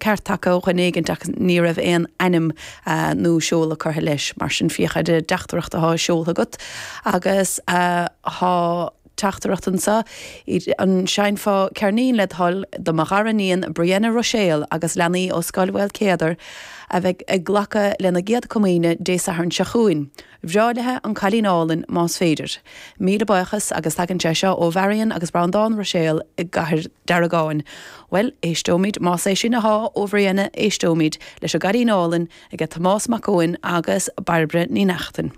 ceart tagtha ó dhuine éigint ach ní raibh aon ainm nó seoladh curtha leis. Mar sin féach ar an dteachtaireacht atá seoltha agat agus tá teachtaireacht anseo, an seinnfeá ceirnín led thoil do mo dhara níon Brianna Ruiséal agus leanaí ó Scoil Mhaolcéadair a bheidh ag glacadh lena gcéad comaoine Dé Sathairn seo chugainn. Bhreá léi An Cailín Álainn más féidir. Míle buíochas agus tagann sé seo ó Mharion agus Breandán Ruiséal i gCathair Deargáin. Bhuel, éisteoimid, más é sin athá ó Bhrianna, éisteoimid leis An gCailín Álainn aige Tomás Mac Eoin agus Bairbre Ní Neachtain.